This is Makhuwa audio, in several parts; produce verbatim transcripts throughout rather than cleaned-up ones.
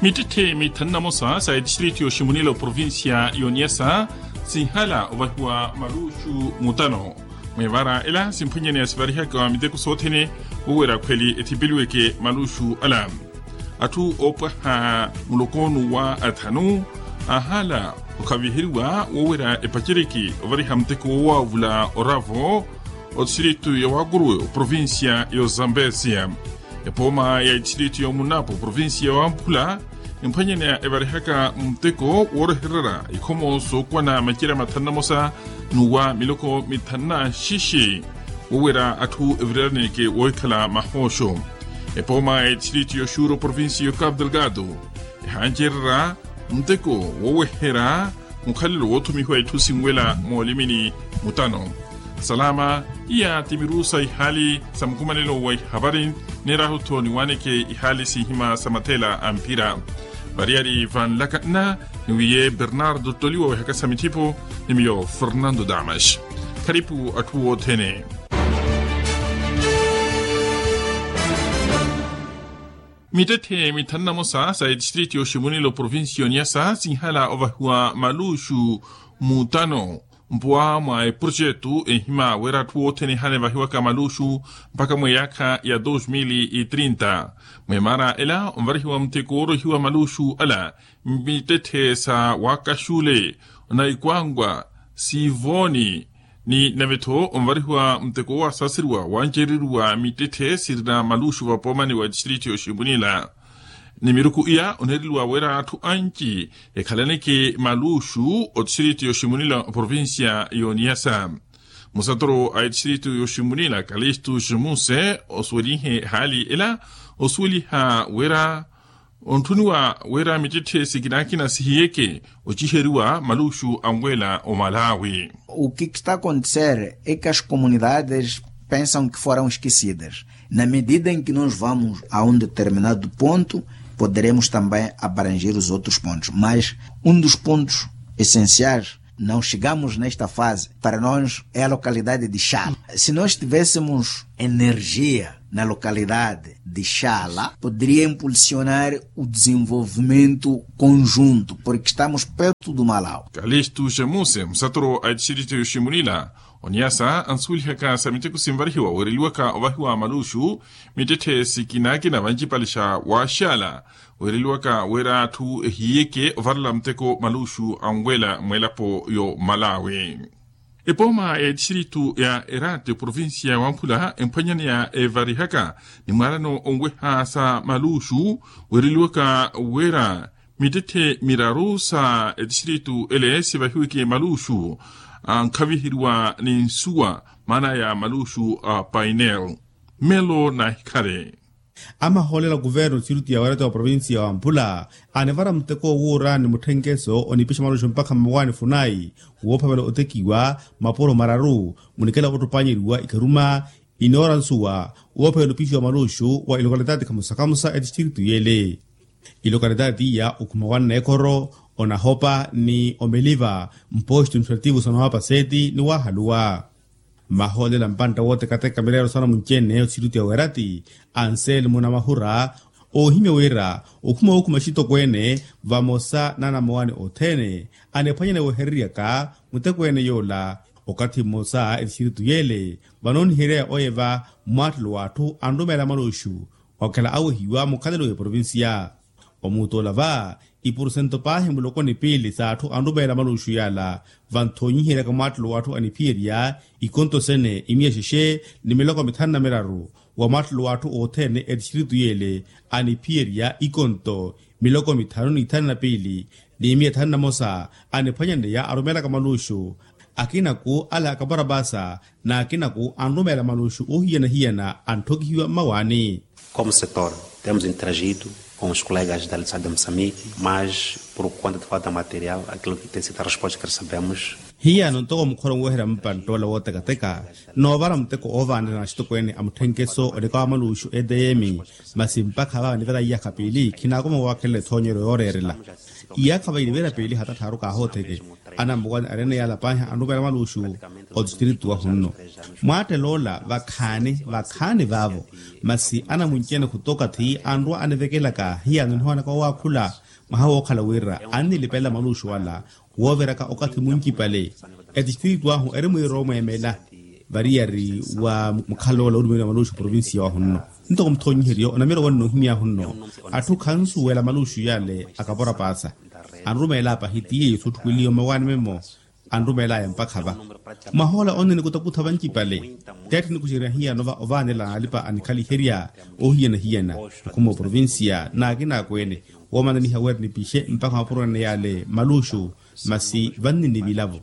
Mittetthe mithanu na mosa sa etistritu yoximunila oprovincia yoniyasa sinhala ovahiwa maluxu mutano. Mwevara ela simphwanyaneya sivarihaka miteko sothene wowerya khweli ethipeliweke maluxu ala. Atthu oopwaha muloko nuwa athanu ahala okhaviheriwa wowerya epaceriki ovariha muteko wowavula oravo otistritu ya wakuruwe oprovincia ya ozambesia. Epooma ya etistritu ya omunapo oprovincia ya wamphula emphwanyaneya evarihaka muteko woorehererya ikhomo sookuwana macerya mathanu na mosa nuwa miloko mithanu na xixi wowerya atthu evireraneke wohikhala mahooxo. Epooma ya etistritu ya oxuru oprovincia ya okapu delgado ehancererya muteko woweherya mukhalelo woothumihiwa itthu sinwela moolimini mutano. Salama. Iya ti mirusa ihaali sa mukumanelo wa ihavari neerahu-tho niwaaneke ihaali sinhima sa mathela a mphira. Variyari vanlaka nna niwiye bernardo toliwa wehaka sa mithipo ni miyo fernando damas. Kharipu atthu othene. Mittetthe mithanu na mosa sa etistritu yoximunila oprovincia yoniyasa sinhala ovahiwa maluxu mutano mpuwa mwa eprojetu enhima wira atthu othene ehana evahiwaka maluxu mpakha mweyaakha ya dos mil e trinta. Mwemara ela onvarihiwa muteko woorohiwa maluxu ala mittetthe sa wakaxule na ikwankwa sivoni ni nave-tho onvarihiwa muteko woowasaaseriwa wancereriwa mittetthe sirina maluxu vapoomani wa etistritu yoximunila. Ni miruku iya oneereliwa wira atthu anci ekhalaneke maluxu otistritu yoximunila oprovincia yoniyasa. Musatoro a etistritu yoximunila kalistu ximuse osuwelinhe haali ela osuweliha wira ontthuniwa wira mittetthe sikinakina sihiyeke ociheriwa maluxu anwela omalawi. O que está acontecer é que as comunidades pensam que foram esquecidas. Na medida em que nós vamos a um determinado ponto, poderemos também abranger os outros pontos, mas um dos pontos essenciais, não chegamos nesta fase, para nós é a localidade de Xala. Se nós tivéssemos energia na localidade de Xala, poderia impulsionar o desenvolvimento conjunto, porque estamos perto do Malau. Kalistu xemuse musatoro a etistritu yoximunila oniyasa ansuwelihaka sa miteko sinvarihiwa weereliwaka ovahiwa maluxu mittetthe sikinakina vancipale xa waxala weereliwaka wira atthu ehiyeke ovarela muteko maluxu anwela mwelapo yo malawi. Epooma ya etistritu ya erate oprovincia ya wamphula emphwanyaneya evarihaka ni mwaalano onweha sa maluxu weereliwaka wira mittetthe miraru sa etistritu ele sivahiweke maluxu ankhaviheriwa ni nsuwa maana ya maluxu a painel. Melo nahikhale. Amahoolela kuvernu txiruti ya wereta wa provincia ya wamphula anivara muteko owuura ni mutthenkeso onipixa maluxu mpakha mmawaani funayi woophavela otekiwa mapuro mararu munikela ottupannyeriwa ikharuma inoora nsuwa woophavela opixiwa maluxu wa ilokalitati khamusa khamusa etistritu yele. Ilokalitati iya okhuma wanna ekhoro onahopa ni omeliva mposto administrativo sa nowapa seti ni wahaluwa. Mahoolela mpantta wootekateka mireero sana munci-ene othirutiya weerati anselmo na mahura oohimya wira okhuma wookhuma axitokweene vamosa na anamowani othene anephwanyana wehereryaka mutekweene yoola. Okathi mmosa etixiritu yeele vanooniheryaya oyeva mmwaattelo w'atthu anrumeela maluxu okhala awehiwa mukhalelo w'eprovincia. Omuutoola va iporosento paahi muloko ni piili s'atthu anrumeela maluxu yaala vanthoonyiheryaka mwaattelo w'atthu aniphiyerya ikonto sene imiya xexe ni miloko mithanu na miraru wa mwaattelo w'atthu othene etixiritu yeele aniphiyerya ikonto miloko mithanu ni ithanu na piili ni imiya thanu na mosa aniphwanyaneya arumeelaka maluxu. Akinaku ala akaparapasa n'akinaku anrumeela maluxu oohiyana-hiyana antthokihiwa mmawaani. Como setor temos interagido com os colegas da lição de moçambique mas por conta de falta material aquilo que tem sido a resposta que recebemos. Hiyano ntoko mukhoro onweherya mpanttoola wootekateka noovara muteko oovaanela na axitokweene a mutthenkeso onikawa maluuxu etm. Masi mpakha va nivara iyaakha piili khinaakoma waakhelela ethoonyeryo yooreerela. Iyaakha va iniveera piili hata tthaaru kaahootheke anammukwani areene yaala paahi anrumeela maluuxu. Otistritu wahunno mwaattela ola vakhaani vakhaani vaavo. Masi anamunci-ene khutokathi anrwa anivekelaka hiyano nihoonaka wawaakhula mwaha wookhala wira annilipelela maluuxu ala wooviraka okathi muncipale. Etistritu ahu eri mwiira omweemela variyari wa mukhaloola olumeliwa maluuxu provincia wahunno. Ntoko muthoonyiheryo onamira owanna ohimyaahu nno atthu khansuwela maluuxu yale akapora paasa anrumeela apahi ti yeeyo sootthukweliwa mmawaani memmo. Anrumeelaya mpakha va mwahoola onne nikutakutha vancipale. Teetthe nikuxerya hiyano va ovaanela alipa anikhaliherya oohiyana-hiyana okhuma oprovincia n'akin'akweene woomananiha wira nipixe mpakha mapuro ene yale maluuxu. Masi vanninnivilavo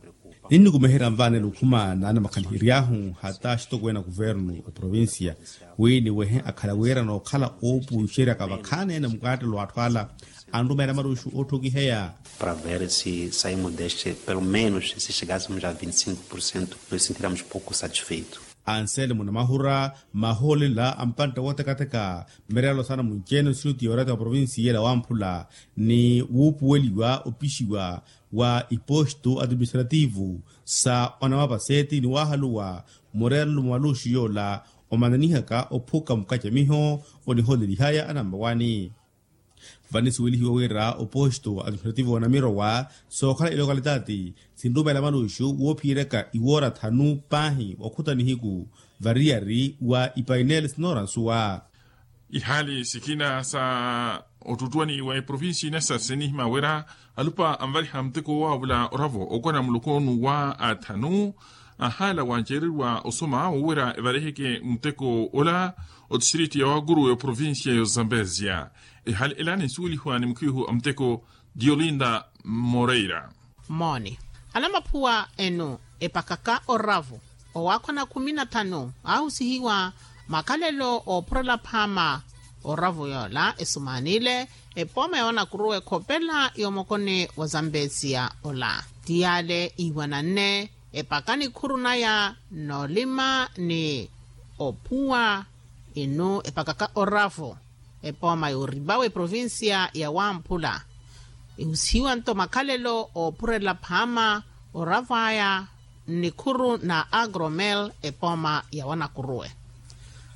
ninnikumeherya nvaanela okhuma n'anamakhalihery'ahu hata axitokweene a kuvernu oprovincia wi niwehe akhala wira nookhala oopuuxeryaka vakhaani ene mukaattelo w'atthu ala anrumeela maruxu ootthokiheya. Para ver si saimos deste pelo menos si chegassemos a vinte e cinco por cento nos sentiríamos pouco satisfeitos. Anselmo namahura mahoolela a mpantta wootekateka mmerelo saana munci-ene nsuti yoorata wa provincia ela wamphula ni wuupuweliwa opixiwa wa iposto administrativo sa onamapaseeti ni waahaluwa murerelo mwa maluxu yoola omananihaka ophuka mukacamiho onihoolelihaya anammawaani. Vanisuwelihiwa wira oposto administrativo wa namirowa sookhala ilokalitaati sinrumeela maluxu woophiyeryaka iwoora thanu paahi wakhutha nihiku variyari wa ipainel sinoora nsuwa. Ihaali sikina sa ottuttwani wa eprovincia inasa sinihima wira alupa anvaliha muteko wowaavula oravo okona muloko onuwa athanu ahaala wanceereriwa osoma wowira evaliheke muteko ola otistriti ya waakuru ya eprovincia ya ozambezia. Ehaali ela ninsuwelihiwa ni mukhiihu a muteko diolinda moreira. Mooni anamaphuwa enu epakaka oravu owaakhwana khumi na thanu aahusihiwa makhalelo oophurela phaama oravu yoola esumaanile epooma ya wanakuruwe khopela yoomokoni wa zambezia ola ti yaale iiwananne epaka nikhuru naya noolima ni ophuwa inu epakaka oravu epooma yoorivawe provincia ya wamphula. Ihusihiwa nto makhalelo oophurela phaama oravwaya nnikhuru na agromel epooma ya wanakuruwe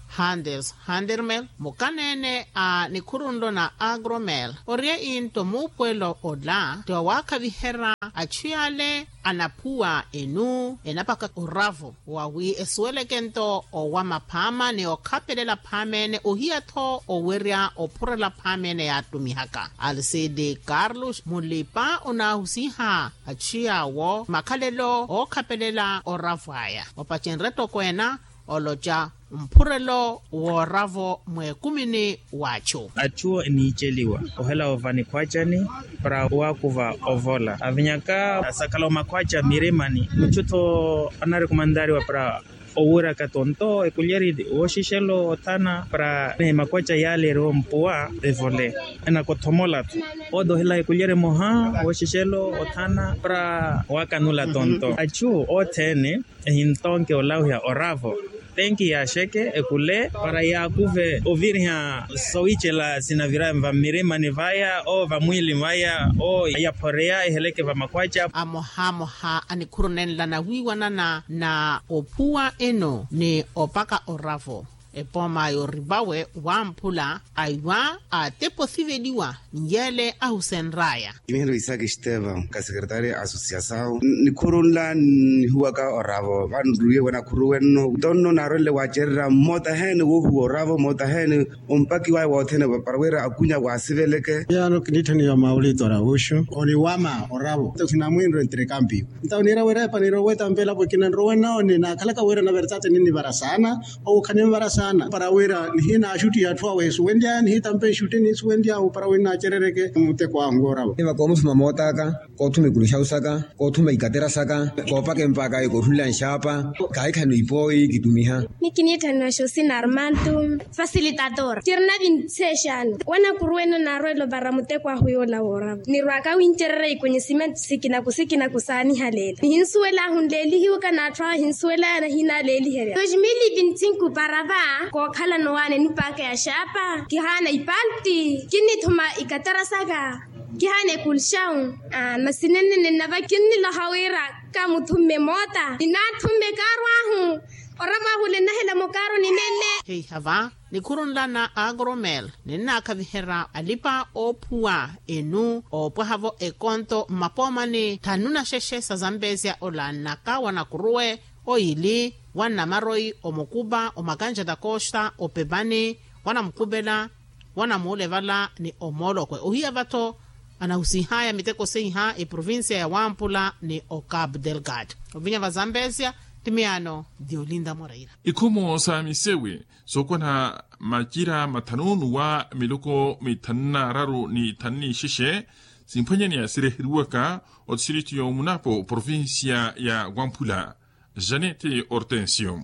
handels handermel mukaneene a nikhuru nlo na agromel oriye into muupuwelo ola ti wawaakhaviherya achu yale anaphuwa enu enapaka oravu wawi esuweleke nto owama phaama ni okhapelela phaama ene ohiya-tho owerya ophurela phaama ene yaattumihaka alcide carlos mulipa onaahusiha achu yaawo makhalelo ookhapelela oravu aya opacenrye toko ena oloca mphurelo wooravo mweekumini w'achu. Achu eniiceliwa ohela ova nikhwacani para waakuva ovola avinyaka asakhala omakhwaca mirimani muchu-tho anarikumantariwa para owiraka tonto ekulyeri wooxixelo othana para ni makhwaca yaaleeriwa ompuwa evole enakothomola-tho odohela ekulyeri moha wooxixelo othana para waakanula tonto achu othene ehintonke olawiha oravo tenki yaaxeke ekule para yaakuve oviriha sowicela sinaviraya va mmirimani vaya o vamwiili vaya o yaphoreya eheleke vamakhwaca. Amohamoha anikhuru nenla nawiiwanana na ophuwa eno ni opaka oravo epooma yoorivawe wamphula aiwa ateposiveliwa nyele ahusenraya. Kimihelo isaki estevan ka sekretaria asosiasawu nikhuru nla nihuwaka oravo vanruye wanakhuru wenno ntonno naarwenle waacererya mmoota heene woohuwa oravo mmoota heene ompaki waya wothene para wira akunya waasiveleke. Yano kiniitthaniwa maulito aravuxu oniwama oravo nto khinamwiinre ntirekampio nto niira wira epaniira owetampela pwekina nrowe noone naakhalaka wira naveretati ninnivara saana owo khanimvara saana. Para wira nihina axutti atthu awe esuwenlyaya nihitampa exutti nisuwenlyahu para wira nacerereke muteko ahu ngorava. Eva komuthuma mootaka, kothuma ikuluxawu saka, kothuma ikatera saka, kopaka empaka ekoothulela nxaapa. Kahikhani ipoyi kitumiha. Nikiniitthaniwa xosina armanto, fasilitator kirina vintsexano. Wanakuruweno naarwelo para muteko ahu yoola woorava nirwaka wincererya ikonhesimentu sikinaku sikinaku saanihaleela nihinsuwelaahu nleelihiwaka n'atthu awe ahinsuwelaya nahinaleeliherya dos mil e vinte e cinco para va kookhalano waane nipaaka ya xaapa kihaana ipalti kinnithuma ikatera saka. Kihaana ekulxawu. Masi nennene nnava kinniloha wira kamuthumme moota ninaathumme kaaru ahu. Oramwahule nnahela mukaaru ninene. Heiha va nikhurunla na agromel ninnaakhaviherya alipa oophuwa enu oopwaha-vo ekonto mmapoomani thanu na xexe sa zampezya ola nnaka wa nakuruwe, oyili wa nnamaroyi omukupa omakanja takosta opepani wa namukupela wa namuule vala ni omoolokwe ohiya va-tho. Anahusihaya miteko seiha eprovincia ya wampula ni ocapu delgado ovinya va zampezya. Ti miyaano diolinda moreira. Ikhomo sa misewi sookwana macira mathanu nuwa miloko mithanu na araru ni thanu ni ixexe simphwanyaneya sireheriwaka otistrito y'omunapo provincia ya wamphula. Janete hortensio.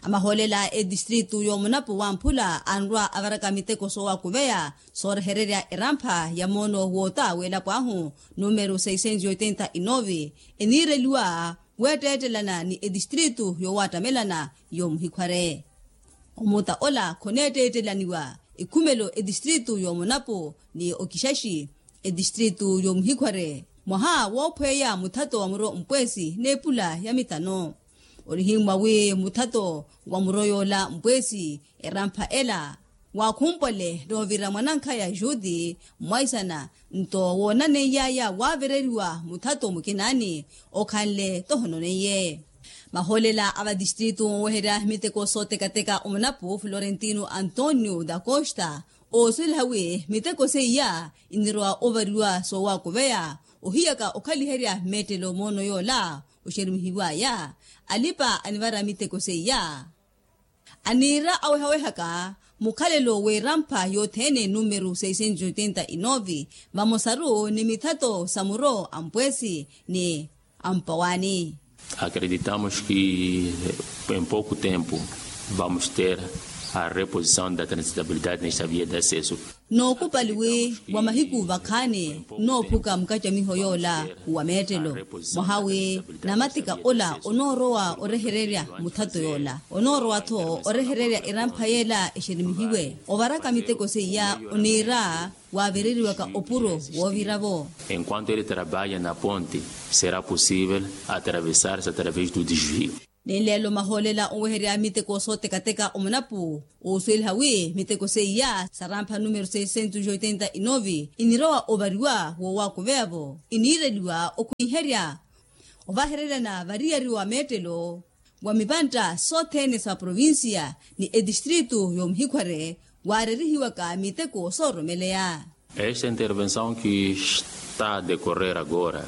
Amahoolela a etistrito y'omunapo wamphula anrwa avaraka miteko soowakuveya soorehererya erampha ya moono woota w'elapo ahu numero seiscentos e oitenta e nove eniireliwa weetteettelana ni etistrito yoowattamelana y'omuhikhware. Omuta ola khoneetteettelaniwa ekhumelo etistrito y'omunapo ni okixaxi etistrito y'omuhikhware mwaha woophweya muthato wa muro mpweesi n'epula ya mitano. Onihimmwa wi muthato wa muro yoola mpweesi erampha ela waakhumpwale noovira mwanankhaya juti mwaisana nto woonaneiyaaya waavereriwa muthato mukinaani okhanle tohononeiye. Mahoolela a vatistrito oweherya miteko sootekateka omunapu florentino antonio da costa oosweliha wi miteko seiya inirowa ovariwa soowakuveya ohiyaka okhaliherya mmeettelo moono yoola oxerumihiwaya alipa anivara miteko seiya. Aniira awehawehaka mukhalelo w'erampha yothene numero seiscentos e oitenta e nove vamosaru ni mithato sa muro a mpweesi ni a mpawaani. Acreditamos ki em pouku tempu vamos ter a reposição da transitabilidade nesta via de acesso. Nookupali wi wa mahiku vakhaani nnoophuka mukacamiho yoola wa meettelo mwaha wi namatika ola onoorowa orehererya muthato yoola onoorowa-tho orehererya erampha yeela exerimihiwe ovaraka miteko seiya oniira waavereriwaka opuro woovira-vo. Enquanto ele trabalha na ponte será possível atravessar-se através do desvio. Ninleelo mahoolela oweherya miteko sootekateka omunapu oosweliha wi miteko seiya sarampha numero seiscentos e oitenta e nove inirowa ovariwa woowakuveya-vo iniireliwa okhwiherya ovahereryana variyari wa meettelo wa mipantta sothene sa provincia ni etistrito y'omuhikhware waarerihiwaka miteko sooromeleya. Esta intervenção que está a decorrer agora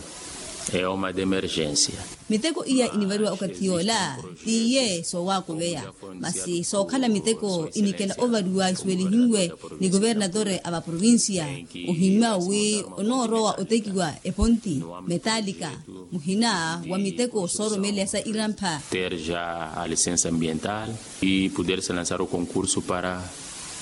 é uma de emergência. Miteko iya inivariwa okathi yoola t'iye soowakuveya masi sookhala miteko inikela ovariwa isuwelihiwe ni kuvernatore a vaprovincia ohimmyawo wi onoorowa otekiwa eponti metalika muhina wa miteko sooromeleya sa irampha. Ter já a licença ambiental e poder se lançar o concurso para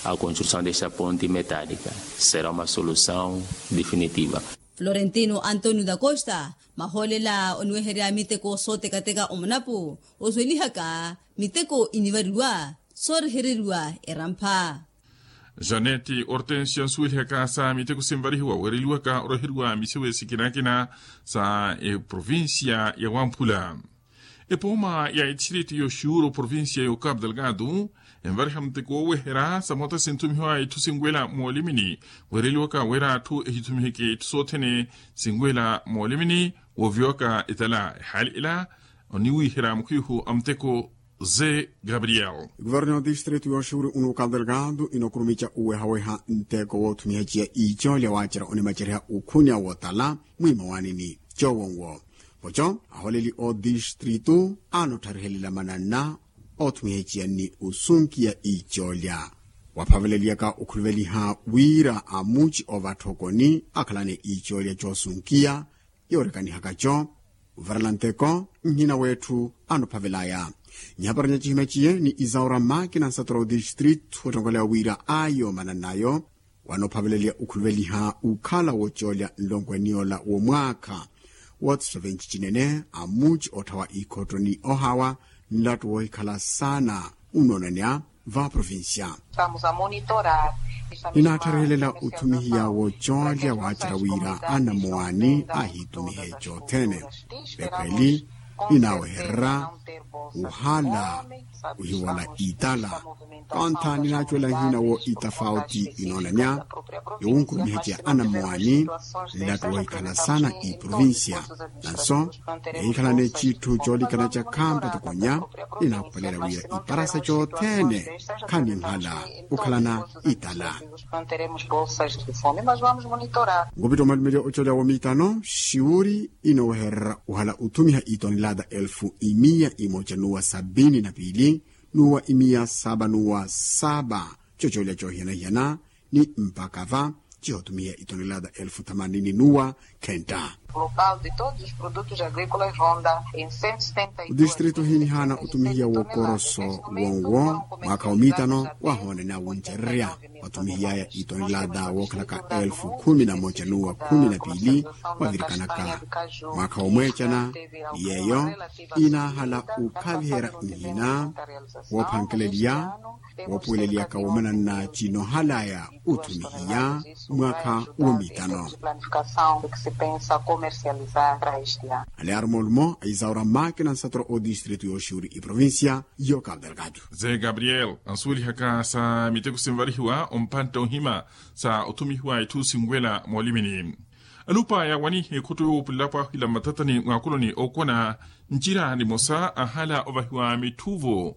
a construção desta ponte metálica será uma solução definitiva. Florentino antonio da costa mahoolela oniweherya miteko sootekateka omunapu oswelihaka miteko inivariwa soorehereriwa erampha. Janete hortensio nsuwelihaka sa miteko sinvarihiwa weereliwaka oreheriwa misewe sikinakina sa eprovincia ya wamphula. Epooma ya etistrito y'oxuuro provincia y'ocapu delgado envariha muteko wooweherya samoota sinthumihiwa itthu sinwela moolimini weereliwaka wira atthu ehithumiheke itthu sothene sinwela moolimini wooviwaka etala ehaali ela. Oniwiherya mukhwihu a muteko ze gabriel. Guverno ya otistrito y'oxuuri unuka delgado inokurumica uwehaweha nteko woothumiha ciya iicoolya waacera onimaceriha ukhuniya wotala mwiima waanini cowonwo. Poco aholeli otistrito anottarihelela mananna oothumiha eciyanni osunkiya icoolya. Waphaveleliyaka okhuluveliha wira amuci ovattha okoni akhalane icoolya coosunkiya yoorekanihaka-co. Ovarela nteko nhina wetthu anophavelaya. Nyaparanya cihima ciye ni isaura makina nsatura otistritu ottonkoleya wira ayo manannayo wanophaveleliya okhuluveliha ukhala wocoolya nlonkweniyola womwaakha. Wootiso venci cinene amuci otthawa ikhotto ni ohawa nlattu woohikhala saana unoonanya va provincia. Ninaattharehelela othumihiya wocoolya waacerya wira anammowaani ahitumihe cothene. Vekhweli ninaawehererya wuhala wihiwola itala. Kontha ninaacuwela nhina wo itafauti inoonanya yowunkurumiha ca anammowaani nlattu woohikhala saana iprovincia. Nanso nihikhalane citthu coolikana ca khampa tokonya ninaakhupalera wira iparasa cothene khaninhala okhalana itala. Nkupitto mwalumelya ocoolya womiitano siwuri inoowehererya wuhala othumiha itonelata elfu imiya imoca nuwa sabini na piili nuwa imiya saba nuwa saba. Cocoolya coohiyana-hiyana ni mpakha va cihothumiha itonelata elfu thamanini nuwa khenta. Otistritu ohiinihaana othumihiya wokoroso wonwo mwaakha womiitano wahoonene awuncererya wathumihiyaya itonelata wookhalaka elfu khumi na moca nuwa khumi na piili wavirikanaka mwaakha womweecana. Ni yeeyo inaahala okhaviherya nhina woophankeleliya woopuweleliyaka womananna cinoohalaya othumihiya mwaakha womiitano. Alearu moolumo a isaura makina nsatura otistritu yooxiwuri iprovincia yo cabo delgado. Ze gabriel ansuwelihaka sa miteko sinvarihiwa ompantta ohima sa othumihiwa itthu sinwela moolimini. Alupa yaawanihe ekhotto yoopulelapo ahila mmatatani mwaakuloni ookona ncira nimosa ahala ovahiwa mitthuvo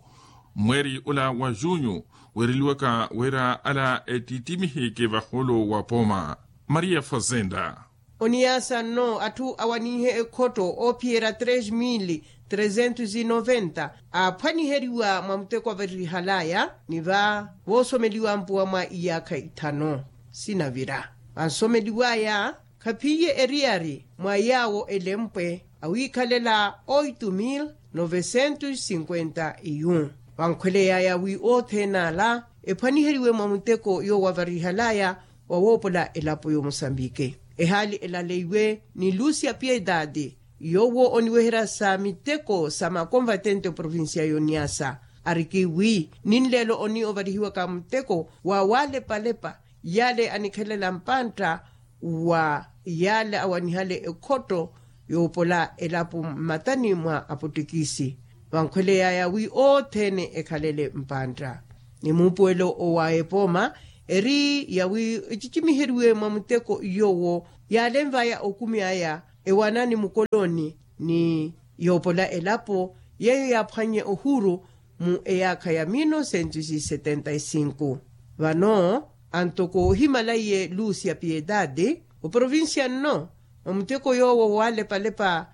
mweeri ola wa junyu weereliwaka wira ala ettitimiheke vahoolo wa pooma. Maria fazenda. Oniyaasa nno atthu awanihe ekhotto oophiyerya tres mil tresentos e noventa aaphwaniheriwa mwa muteko avarihalaya ni va voosomeliwa mpuwa mwa iyaakha ithanu sinavira vansomeliwaya khaphiye eriyari mwa yaawo elempwe awiikhalela oitu mil novesentos sinkwenta iyu. Vankhweleyaya wi othene ala ephwaniheriwe mwa muteko yoowo avarihalaya wa woopola elapo y'omusambike ehaali elaleiwe ni lucia piedade yoowo oniweherya sa miteko sa makonvatente oprovincia y'oniasa ariki wi ninleelo oni ovarihiwaka muteko wa walepalepa yale anikhelela mpantta wa yale awanihale ekhotto yoopola elapo mmatani mwa apottikisi vankhweleyaya wi othene ekhalele mpantta ni muupuwelo owa epooma eri yawi ecicimiheriwe mwa muteko yoowo yaalenvaya okumi aya ewanani mukoloni ni yoopola elapo yeeyo yaaphwannye ohuuru mu eyaakha ya mil novesentos e setenta e cinco. Vano antoko ohimala iye lucia piedade oprovincia nno mwa muteko yoowo walepalepa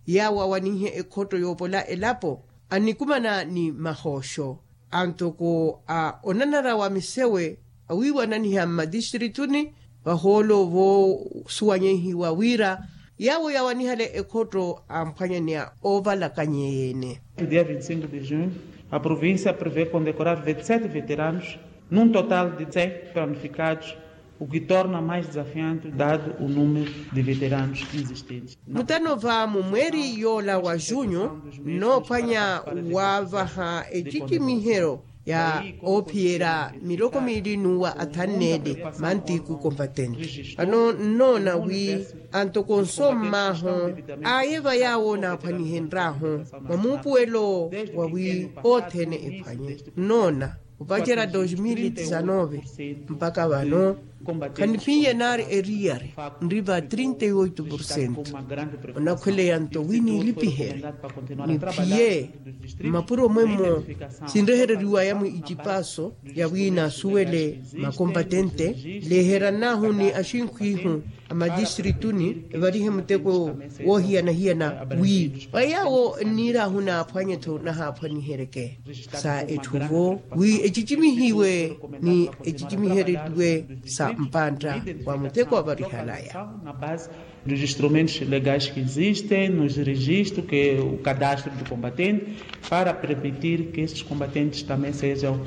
yaawo awaninhe ekhotto yoopola elapo anikumana ni mahooxo antoko a onanara wa misewe awiiwananiha mmatistrituni vahoolo voosuwanyehiwa wira yaawo yaawanihale ekhotto amphwanyaneya oovalakanye yeene. Dia vinte e cinco de junho a provincia prevê condecorar vinte e sete veteranos num total de cem planificados, o que torna mais desafiante dado o número de veteranos existentes. Mutano va mumweeri yoola wa junyu nnoophwanya wavaha ecicimihero ya oophiyerya miloko miili n'uwa athanneele mantiku konvatenti vano nnoona wi antoko nsommaahu aye va yaawo naaphwanihenryahu mwa muupuwelo wa wi othene ephwanye nnoona opacerya dos mil e desanove mpakha vano khaniphiye naari eriyari nri va trinta e oito porcento onakhweleya nto wi niilipiherye niphiye mmapuro mwemmo sinrehereriwaya mwi icipaso ya wi naasuwele makompatente leeheryan'ahu ni axinkhwihu Mmatistrituni evarihe muteko woohiyana-hiyana wi wa yaawo nniir'ahu naaphwanye-tho nahaaphwaniheryeke sa etthu-vo wi ecicimihiwe ni ecicimihereriwe sa mpantta wa muteko avarihalaya. Dos instrumentos legais que existem nos registros que o cadastro de combatente para permitir que esses combatentes também sejam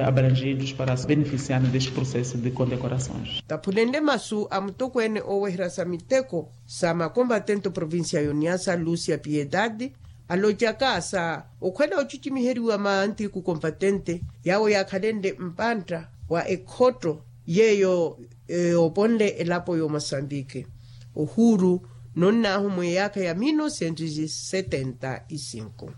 abrangidos para beneficiar deste processo de condecorações. Taphulenle masu a mutokweene ooweherya sa miteko sa makombatente oprovincia y'oniasa lucia piedade, alocaka sa okhwela ocicimiheriwa mantiku kombatente yaawo yaakhalenle mpantta wa ekhotto yeeyo yooponle elapo y'omasambiki ohuuru nonnaahu mweyaakha ya mil novecentos e setenta e cinco.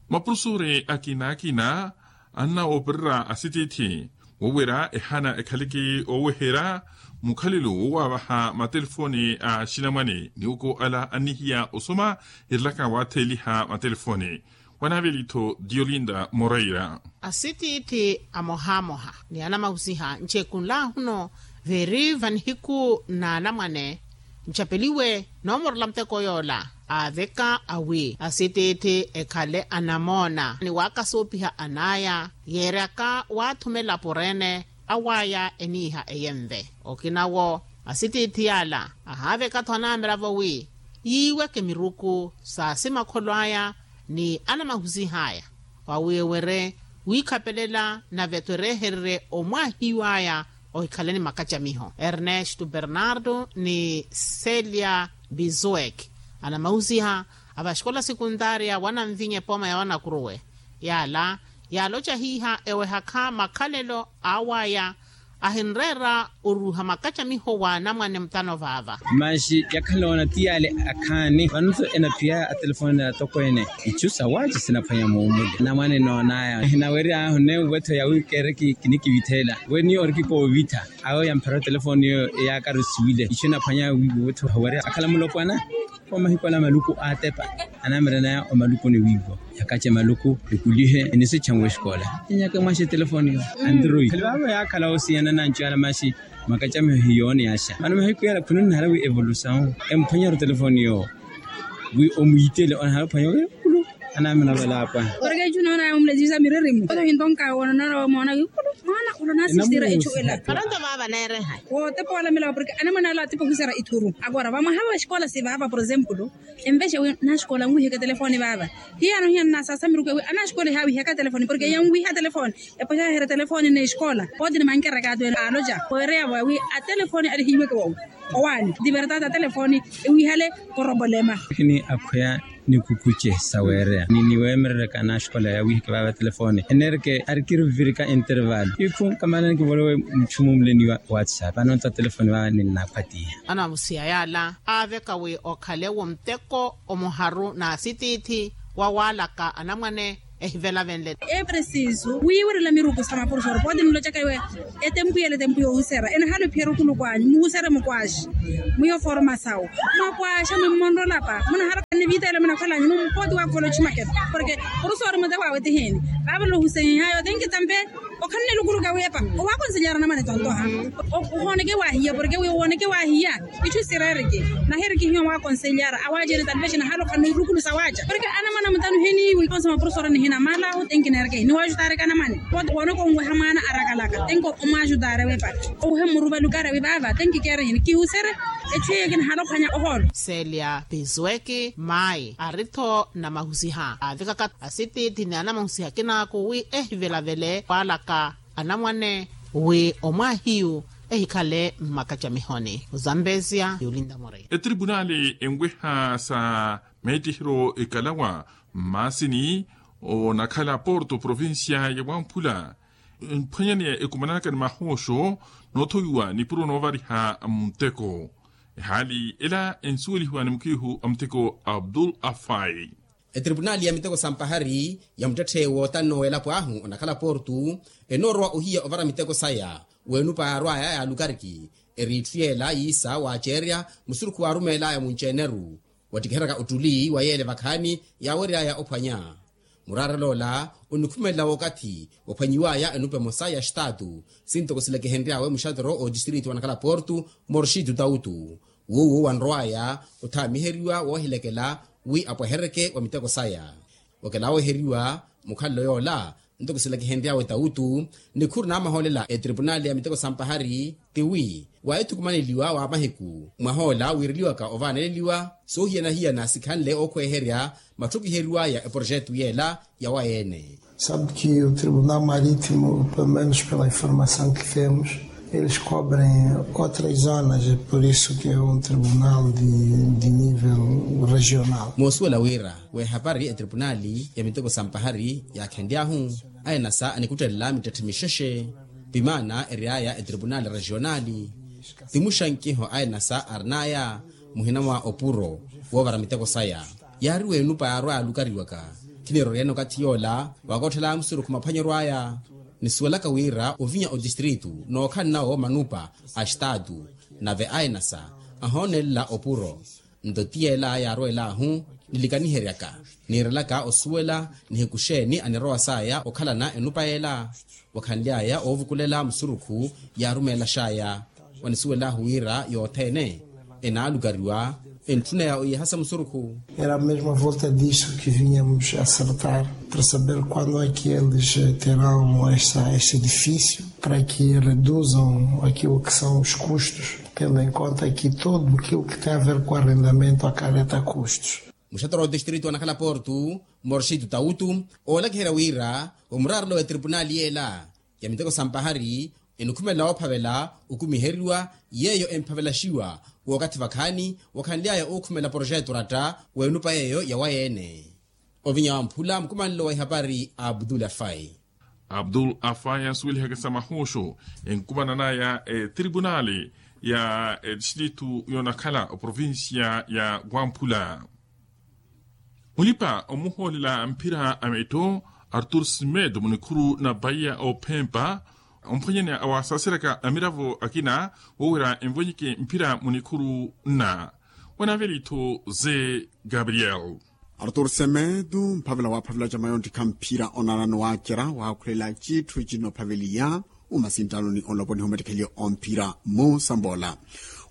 Maprofesori akina-akina annawoopererya asitiithi wowerya ehana ekhaleke ooweherya mukhalelo wowaawaha matelefoni a axinamwane ni oko ala annihiya osoma erilaka waatheeliha matelefoni. Wanaaveli-tho diolinda moreira. Asitiithi amohamoha ni anamahusiha ncekunlaahuno veeri vanihiku na anamwane ncapeliwe noomorela muteko yoola aaveka awi asitiithi ekhale anamoona ni waakasuupiha an'aya yeeryaka waathumela pureene aw'aya eniiha eyenve okinawo asitiithi yaala ahaaveka-tho anamiravo wi yiiweke miruku sa simakholo aya ni anamahusih'aya wawi ewere wiikhapelela nave-tho ereehererye omwaahiw'aya ohikhaleni makacamiho ernesto bernardo ni celia bizuek anamahusiha a vaxikola sekuntaria wa nanvinya epooma ya wanakuruwe yaala yaaloca hiiha ewehakha makhalelo aw'aya ahinreera oruuha makacamiho wa anamwane mutano vaava. Maxi yakhala oona ti yaale akhaani vano-tho enaphiyaya atelefoni na atokweene ichu sawaaci sinaphwanya muumuli anamwane noon'aya ehinawerya ahu neewo-tho yawi keereke kinikivithela we niyo oriki koovitha awo yamphera otelefoni yeyo eyaakari osiwile ichu enaphwanya wiiwo-tho owerya akhala mulopwana. Omahiku ala maluku aatepa anaamiranaya omaluku ni wiiwo yakace maluku ekulihe enisecha nwe esikola enyaka mwaxa etelefoni yo android khali vaavo yaakhala osiyana nancu yala maxi makacamiho hiyoone yaxa vano mahiku yala khunonihara wi evolusawu emphwanyerya otelefoni yo wi omwiitele onahara ophwanya wi kulu anaamina valapwa. Porke ecu noona yamumulejisa miririmu oto hintonka woona noona wamoona wi kulu mwana ulo nasistira ecu ela. Paranto vaava neerehayi wootepa walamela porke anamwana ala atipa ohuserya ithuru agora vamwaha va xikola si vaava por exemplo envexe wi naxikola nwiheke telefoni vaava hiyano hiyano nasaasa miruku ewi anaxikola ehaawiheka telefoni porke yanwiha telefoni epoxahere telefoni n'exikola pooti ni mankerakaatu ene aaloca weereyavo awi atelefoni alihiweke wawi owaani divertata telefoni ewihale korobolema. Kini akhweya nikukuce saweereya ni niweemerereka anaxikola yawiheke vaava telefoni enerke arikirivirika interval ikhu kamana nikivolowe muchumu muleniwa whatsapp anonto atelefoni vaava ninnakhwatiya. Anamusiya yaala aaveka wi okhale wo muteko omuharu n'asitiithi wawaalaka anamwane ehivelavenle. Epresisu wiiwerela miruku sa maprofesori pooti nilocaka iwe etempu yela etempu yoohuserya enahale ophiyerya okuluku anyu muhuserye mukwaaxi mwiyo formasawu mwakwaaxa mwimmonrolapa munahara nivita yela munakholanyu numpooti wakuvola ochimakela porke profesori muteko awe tihini vaavolohusenyayo tenki tampe okhanne lukuluka wepa owakonselyara namane tontoha ohooneke wahiya porke wi owooneke wahiya ichu sireriki nahiriki hiyo mwakonselyara awaacene talvexi nahaloka nirukulusa waaca porke anamwana mutanu hiniwi onse maprofesori nihina malahu tenki neereke hini waajutareke anamwane wooneke onweha mwana arakalaka tenki omwaajutare wepa owehe mmuruva lukara wi vaava tenki keere hini kihusere echu hiyo kinahalokhanya ohoolo. Selia pisuweki maayi ari-tho namahusiha aavikaka asitiithi ni anamahusiha kinaaku wi ehivelavele waalaka anamwane wi omwaahiyu ehikhale mmakacamihoni ozambezia yuulinda muri. Etripunali enweha sa meettihiro ekalawa mmaasini onakhala porto provincia ya wamphula mphwanyaneya ekumananaka ni mahooxo noothowiwa nipuro noovariha muteko ehaali ela ensuwelihiwa ni mukhiihu a muteko abdul afai. Etripunali ya miteko sa mpahari ya muttetthe wootanno w'elapo ahu onakhala portu enoorowa ohiya ovara miteko saya weenupa yaarwaya yaalukariki eriitthu yeela yiisa waaceerya musurukhu waarumeel'aya munci-eneru wattikiheryaka ottuli wa yeele vakhaani yaawery'aya ophwanya muraarel'ola onikhumelela wookathi waphwanyiw'aya enupa emosa ya xitaatu sintoko silekehenry'awe muxatero otistriti wanakhala portu morxitu tautu Woowo wanrow'aya othaamiheriwa woohilekela wi apwehereke wa miteko saya. Okela wooheriwa mukhalelo yoola ntoko silakihenry'awe tawutu nikhuru naamahoolela etripunali ya miteko sampahari, tiwi waahithukumaneliwa wa mahiku mwahoola wiireliwaka ovaaneleliwa soohiyana-hiyana sikhanle ookhweherya matthukiheriw'aya eprojetu yeela yawaye-ene. Sabe que o tribunal marítimo, pelo menos pela informação que temos, eles cobrem outras zonas, é por isso que é um tribunal de nível regional. Moosuwela wira w'ehapari etripunali ya miteko sampahari yaakhenly'ahu, ainasa anikuttelela mittetthe mixexe. Pimaana ery'aya etripunali regionali, ti muxankiho ainasa arin'aya muhina mwa opuro woovara miteko saya. Yaari w'enupa yaarwa yaalukariwaka, khiniroryene okathi yoola wakootthela musurukhu maphwanyeryo aya. Nisuwelaka wira ovinya otistritu nookhala nawo manupa a estaatu, nave ainasa ahoonelela opuro. Nto ti yeela yaarwelahu nilikaniheryaka, niirelaka osuwela nihiku xeeni anirowa saya okhalana enupa yeela. Wakhanly'aya oovukulela musurukhu yaarumeelax'aya. Wanisuwelahu wira yothene enaalukariwa entthuneya oyihasa musurukhu. Era mesmo a volta disso que vinhamos a acertar para saber quando é que eles terão esse edifício para que reduzam aquilo que são os custos, tendo em conta que todo aquilo que tem a ver com arrendamento acarreta custos. Muxatora wa otistritu anakhala portu, morxitu tawutu, oolakiherya wira omurarulo wa etripunali yeela ya miteko sampahari enikhumelela woophavela okumiheriwa yeeyo emphavelaxiwa w'okathi vakhaani wakhanly'aya ookhumela poroxetu oratta w'enupa yeeyo yawaye-ene. Ovinya wamphula mukumanelo wa ihapari abdul afai. Abdul afai ansuwelihaka sa mahuuxu enkumanan'aya etripunali ya etistritu yoonakhala oprovincia ya wamphula. Mulipa omuhoolela mphira a metto artur simedo munikhuru na baiya ophempa omphwanyani awasaaseryaka amiravo akina woowira envwenyeke mphira munikhuru na wanaveli-tho ze gabriel. Artur semedo mphavela waaphavela ca mayontikha mphira onanano waacerya waakhulela citthu cinophaveliya umasinttanoni onloponiha omattikheliyo omphira musambola.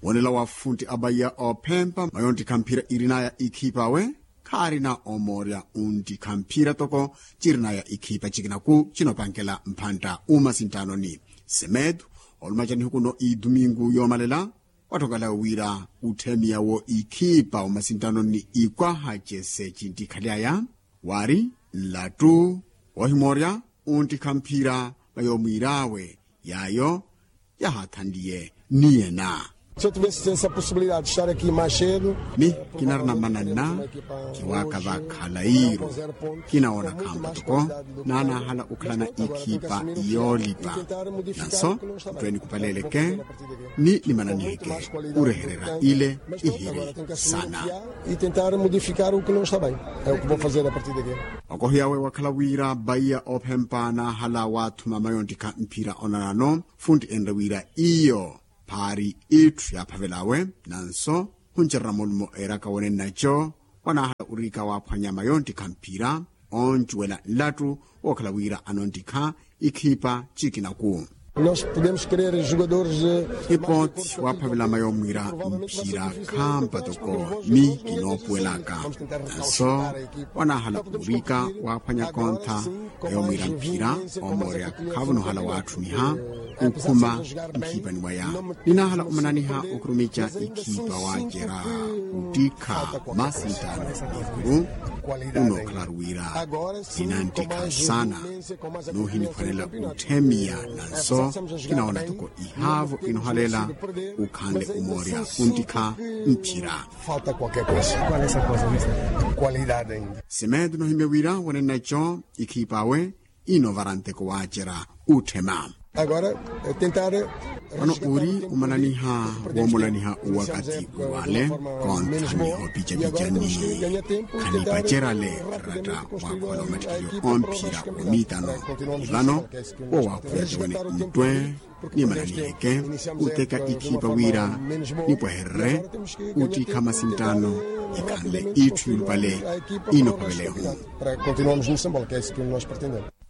Wonela wa funtti abaiya ophempa mayontikha mphira irinaya ikhiipa awe khaarina omoorya untikha mphira toko cirinaya ikhiipa cikinaku cinopankela mphantta umasinttanoni. Semedo oluma ca nihuku no idumingu yoomalela watthokala wira utthemiya wo ikhiipa umasinttanoni ikwaha cese cintikhaly'aya waari nlattu woohimoorya untikha mphira va yoomwiir'awe yaayo yahaathanliye niyena. Mi kinarina mananna kiwaaka vakhala iiru kinawoona khaampa toko naanaahala okhalana ikhiipa yoolipa nanso ntweeni kupaleleke ni nimananiheke orehererya ile ihiri sana. Okohiya we wakhala wira baiya ophempa naahala waathuma mayontikha mphira onanano funtti enre wira iyo phaari itthu yaaphavel'awe nanso khuncererya mulumo eeraka wene nnaco wanaahala oriika waaphwanya mayontikha mphira oncuwela nlattu wookhala wira anontikha ikhiipa cikinaku. Ipooti waaphavela mayoomwiira mphira khaampa toko mi kinoopuwelaka nanso wanaahala oriika waaphwanya kontha mayoomwiira mphira omoorya khaavo noohala waatthuniha okhuma nkhipani waya ninaahala omananiha okhurumica ikhipa waacerya ottikha masintaano ikuru unookhala ruwira ninantikha saana noohiniphwanela otthemiya nanso kinawoona toko ihaavo inohalela ukhanle omoorya ontikha mphira. Semedo nohimye wira wanennaco ikhipa awe inovara nteko waacerya otthema. Vano ori omananiha woomolaniha owakathi wale kontha ni hoopicapica ni khanipacerale ratta waakhola omattikeliyo omphira womiitano ni vano wo waakhwiya tiwene ntwe nimananiheke oteka ikhipa wira nipwehererye ottikha masintaano ikhanle itthu yulupale inophavelehu.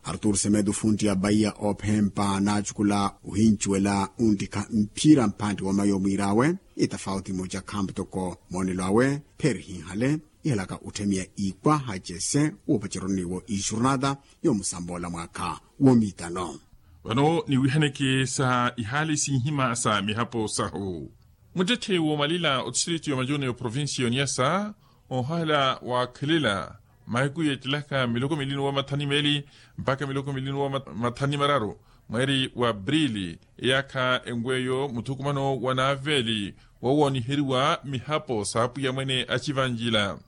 Artur semedo funti ya baiya ophempa naacukula ohincuwela ontikha mphira mphantti wa mayi omwiir'awe. Itafauti emoca khampu toko moonelo awe pheerihinhale ihalaka otthemiya iikwa hacese woopaceroni wo ixurnata yoomusamboola mwaakha. Woomiitano vano niwihaneke sa ihaali sinhima sa mihapo sahu. Muttetthe woomalila otistritu yoomacuuni oprovincia yoniyasa, ohahala waakhelela mahiku yeettelaka miloko milinu wa mathani meeli mpakha miloko milinu wa mathani mararu mweeri wa aprili, eyaakha enweyo muthukumano wa naaveeli wowooniheriwa mihapo saapwiya mwene acivanjila.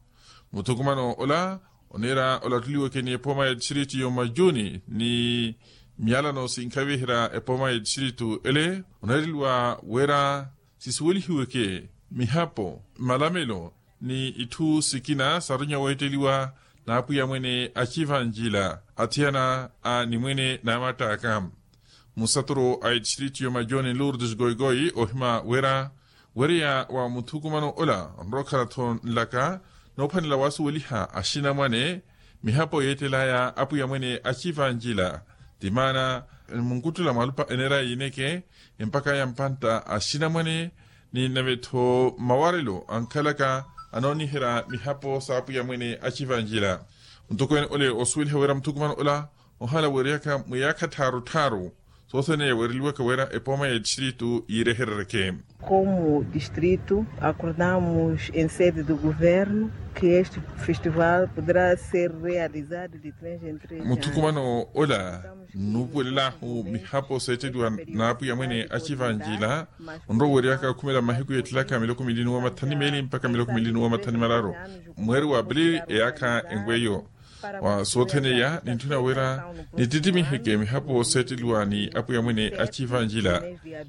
Muthukumano ola oneera olattuliweke ni epooma ya tistritu yoomacuuni ni miyalano sinkhaviherya epooma ya tistritu ele oneereliwa wira sisuwelihiweke mihapo, malamelo ni itthu sikina sarunya weetteliwa n'apwiya mwene acivanjila athiyana a nimwene n'amattaaka. Musaturu a etistritu yoomacuuni lourdes goigoi ohima wira wereya wa muthukumano ola onrowa okhala-tho nlaka noophwanela wasuweliha axinamwane mihapo yeettelaya apwiya mwene acivanjila. Ti maana munkuttula mwalupa eneeraya yiineke empaka ya mpantta axinamwane ni nave-tho mawarelo ankhalaka anooniherya mihapo saapwiya mwene acivanjila. Mutokwene ole osuweliha wira muthukumano ola ohala weereyaka mwiyaakha tthaaru tthaaru soothene yaweereliwaka wira epooma ya tistritu yiirehereryeke. Komu tistritu akordamus ensede do governo ke este festival podera ser realizado de três em três anos. Muthukumano ola nnuupuwelelahu mihapo seetteliwa n'apwiya mwene acivanjila onrowa weereyaka okhumela mahiku yeettelaka miloko milinu wa mathani meeli mpakha miloko milinu wa mathani mararu mweeri wa aprili eyaakha enweyo. Wa soothene eya nintthuna wira nittitimiheke mihapo seetteliwa ni apwiya mwene acivanjila.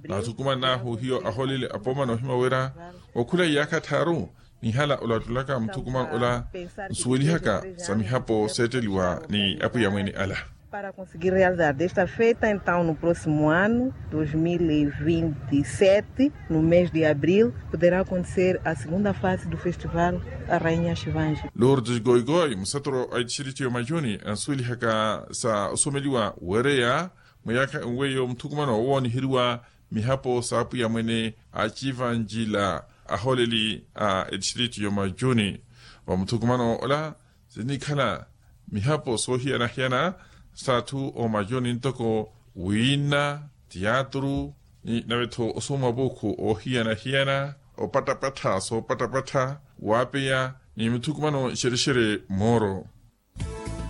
Naathukuman'ahu hiyo ahooleli apooma noohima wira okhula iyaakha tthaaru nihala olattulaka muthukumano ola nsuwelihaka sa mihapo seetteliwa ni apwiya mwene ala. Para conseguir realizar desta feita então no próximo ano dois mil e vinte e sete no mês de abril poderá acontecer a segunda fase do festival a rainha chivange. Lourdes goigoi musatoro a itistriti ya majuni ansuwelihaka sa osomeliwa wereya mwa yaakha enweyo muthukumano owooniheriwa mihapo saapwiya mwene a chivanjila ahooleli a itistriti ya majuni. Vamuthukumano ola sinikhala mihapo soohiyana-hiyana s'atthu oomajuni ntoko wiina tiyaturu ni nave-tho osoma vuukhu oohiyana-hiyana opattapattha soopattapattha waapeya ni mithukumano nxerexere mooro.